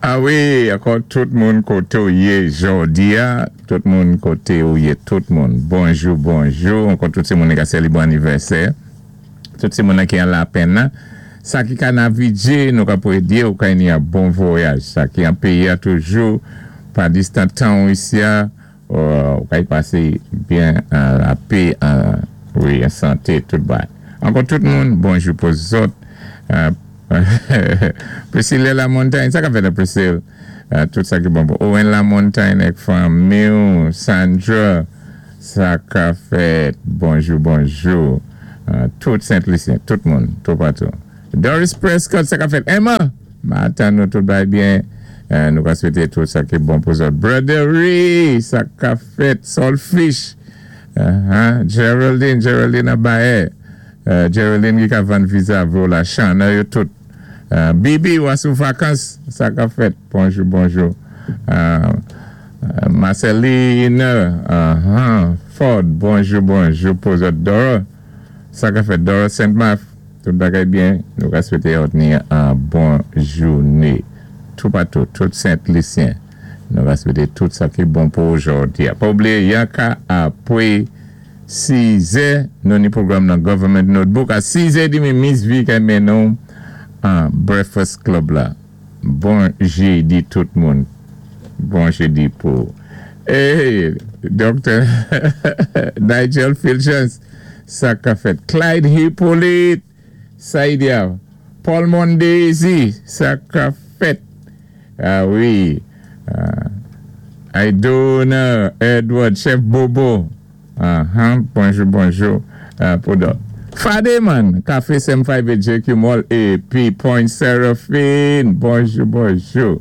A wi, ankò tout moun koté ou yé jòdi-a, tout moun koté ou yé, tout moun. Bonjou, bonjou. Ankò tout sé moun ki ka sélébwé anivèsè. Tout sé moun ki an Lapenn. Sa ki ka navigé, nou ka pwédyé ou ka ni an bon vwayaj. Sa ki an péyi-a toujou, pa distan tan ou isi-a, ou ka y pasé byen an lapè, an, wi, an santé, tout bagay. Ankò tout moun, bonjou pou zòt. Priscilla Lamontagne, sa ka fèt, Priscilla? Tout sa ki bon pou Owen Lamontagne ak fanmi, Sandra, sa ka fèt. Bonjou, bonjou. Tout Sent-Lisyen, tout moun, tout patou. Doris Prescott, sa ka fèt. Emma, maten nou tout bay byen. Nou ka swété tout sa ki bon pou zòt. Brothery, sa ka fèt. Solfish, Geraldine, Geraldine Abaye. Geraldine ki ka vann viza vo la Chana yo tout. Bibi, ou sou vakans, sa ka fèt. Bonjou, bonjou. Marceline, Ford, bonjou, bonjou pou zòt. Dora, sa ka fèt. Dora Saint-Marc, tout bagay byen. Nou ka swété ni an bon jouné. Tout patou, tout Sent-Lisyen. Nou ka swété tout sa ki bon pou jòdi. Pa oubliyé, yanka apwé 6 è, nou ni pwogram nan Government Notebook. A 6 è demi, Miss V ka mennen an Breakfast Club la. Bon jédi tout moun. Bon jédi pou. Hey, Dr. Nigel Filchens, sa ka fèt. Clyde Hippolyte, Saïdia, Paul Mondesi, sa ka fèt. A wi. Aidona Edward, Chef Bobo. Bonjou, bonjou. Pou dòt. Fademan, Café 758 JQ Mall épi Point Seraphine. Bonjou, bonjou.